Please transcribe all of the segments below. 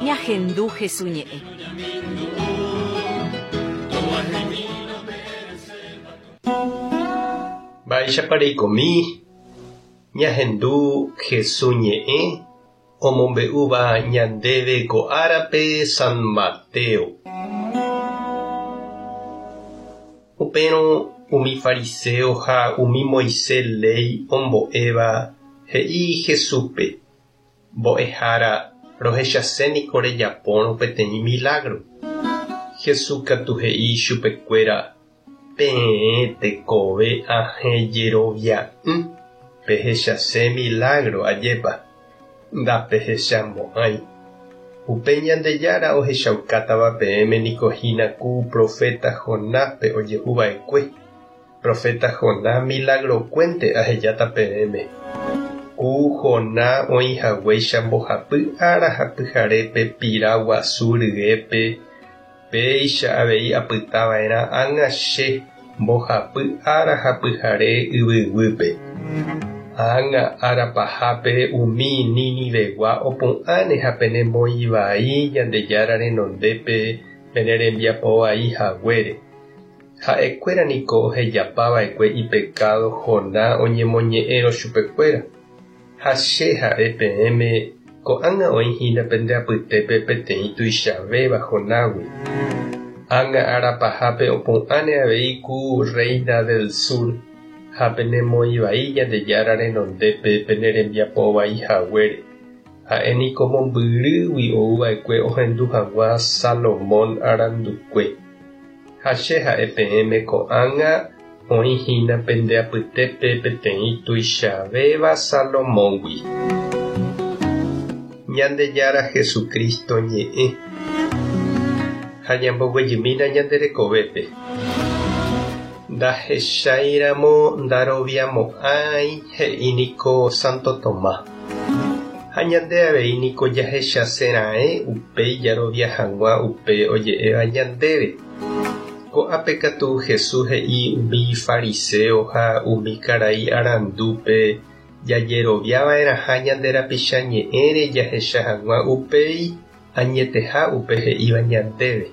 Ñahendu Hesu ñe'ẽ. Mba'éichapa reikomi ñahendu Hesu ñe'ẽ omombe'úva ñandéve ko árape San Mateo. Upérõ umi fariséo ha umi Moisés léi ombo'éva he'i Jesúspe, Mbo'ehára, rohechase niko rejapórõ peteĩ milágro. Jesús katu he'i ichupekuéra, Peẽ tekove ahẽ jerovia'ỹ, pehechase milágro ajépa, ndapehechamo'ãi. Upe Ñandejára ohechaukátava peẽme niko hína ku proféta Jonáspe ojehu va'ekue. Proféta Jonás milagrokuénte ahejáta peẽme. Ku Jonás oĩ haguéicha mbohapy ára ha pyharépe pira guasu ryépe, péicha avei apyta va'erã ág̃a che mbohapy ára ha pyhare yvyguýpe. Ág̃a ára pahápe umi Ninivegua opu'ãne ha penemoĩ vai Ñandejára renondépe pene rembiapo vai haguére. Ha'ekuéra niko ohejapa va'ekue ipekádo Jonás oñemoñe'ẽrõ chupekuéra. Ha che ha'e peẽme, ko'ág̃a oĩ hína pende apytépe peteĩ tuichavéva Jonágui. Ág̃a ára pahápe opu'ãne avei ku rréina del sur, ha penemoĩ vai Ñandejára renondépe pene rembiapo vai haguére. Ha'e niko mombyrýgui ou va'ekue ohendu hag̃ua Salomón arandukue. Ha che ha'e peẽme ko'ág̃a oĩ hína pende apytépe peteĩ tuichavéva Salomóngui. Ñandejára Jesucristo ñe'ẽ. Ha ñamboguejymína ñande rekovépe. Ndahecháiramo ndaroviamo'ãi he'i niko Santo Tomás. Ha ñande avei niko jahechase raẽ upéi jarovia hag̃ua upe oje'éva ñandéve. Ko'ápe katu Jesús he'i umi fariséo ha umi karai arandúpe jajerovia va'erãha ñande rapicha ñe'ẽre jahecha hag̃ua upéi añeteha upe he'íva ñandéve.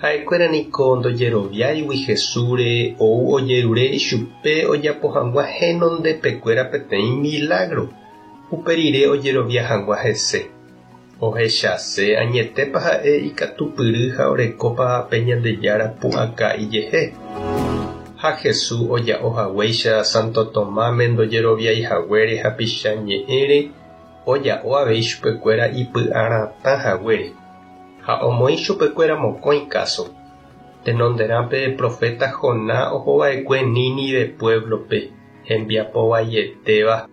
Ha'ekuéra niko ndojeroviáigui Jesúsre ou ojerure ichupe ojapo hag̃ua henondepekuéra peteĩ milágro, upe rire ojerovia hag̃ua hese. Ohechase añetépa ha'e ikatupyry ha orekópa pe Ñandejára pu'aka ijehe. Ha Jesús oja'o haguéicha Santo Tomáme ndojeroviái haguére hapicha ñe'ẽre, oja'o avei chupekuéra ipy'aratã haguére. Ha omoĩ chupekuéra mokõi káso. Tenonderã pe proféta Jonás ohova'ekue Nínive puévlope, hembiapo vaietéva,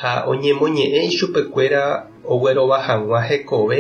ha oñemoñe'ẽ ichupekuéra oguerova hag̃ua hekove.